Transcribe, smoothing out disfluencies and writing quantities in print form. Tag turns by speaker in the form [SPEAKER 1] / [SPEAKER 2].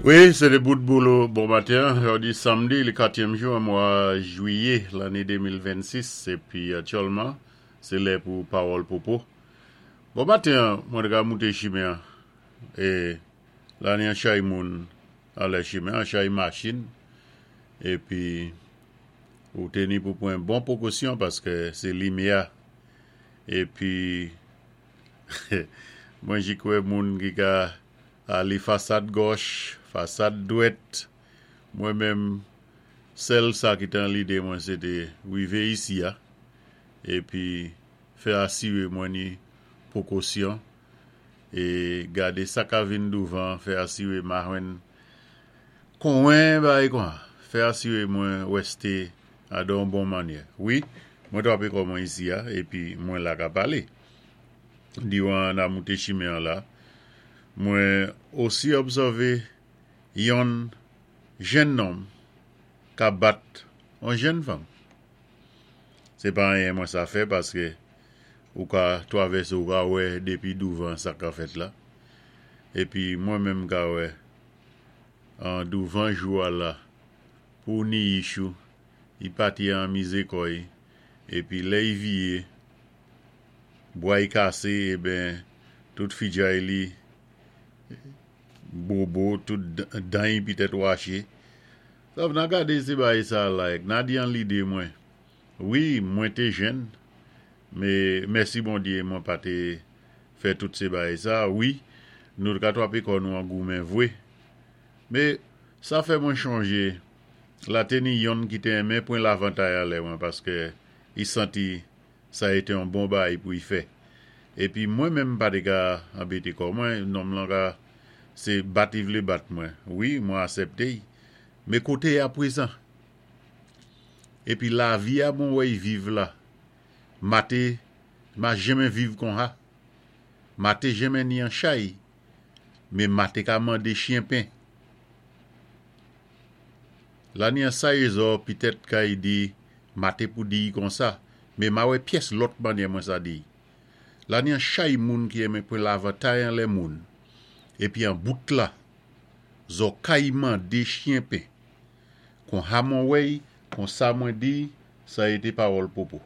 [SPEAKER 1] Wi, sé té bout boulo bon maten. Jòdi samdi, le katyèm jou an mwa jwiyé lanné 2026, épi aktyèlman sé lè pou Pawòl Popo. Bon maten, mwen té ka mouté chimen an é la ni an chay moun anlè chimen an, chay machin, épi ou té ni pou pwan bon pwokosyon paské sé limyè épi mwen jik wè moun ki ka Ale fasad gòch, fasad dwèt, mwen menm sèl sa ki te an lide mwen se te rive isi a epi fè asire mwen ni pwokosyon e gade sa ka vin douvan fè asire ma jwenn konwen bagay kon fè asire mwen wèste a dan yon bon mannyè. Wi, mwen trape kò mwen isi a epi mwen la ka pale. Diwan na moute chimen an la, mwen osi òbsève yonn jenn nonm ka bat on jenn fanm. Se pa anyen mwen sa fè paske ou ka twavèse ou ka wè depi douvan sa ka fèt la. Epi mwen menm ka wè an douvan jou a la pou ni ichou i pati an mize kò i epi lè i viye Bwa y kase eben tout fidjay li bobo tout dan y pitèt wache. Sa na gade se bagay sa like na di an lide mwen wi mwen te jenn me mèsi Bondye mwen pa te fè tout se bagay sa wi nou t ka twape kò nou an goumen vwe me sa fè mwen chonje la te ni yonn ki te enmen pwen lavantay alè mwen paske y santi Sa été yon bon baay pou y fè. Épi mwen menm m pa té ka anbété kò mwen, nonm lan ka sé bat y vlé bat mwen. Wi, mwen asèpté y. Mé koté y aprezan? Épi lavi a mwen wè y viv la, ma té ma jenmen viv konha. Ma té jenmen ni an chay, mé ma té ka mandé chyen pen. La ni an saye zò pitèt ka y di Ma té pou di y konsa, mé ma wè pyès lòt mannyè mwen sa di y. La ni an chay moun ki enmen pwen lavantay anlè moun, épi an bout la, zò kay mandé chyen pen. Kon ha mwen wè y, kon sa mwen di y, sa été pawòl Popo.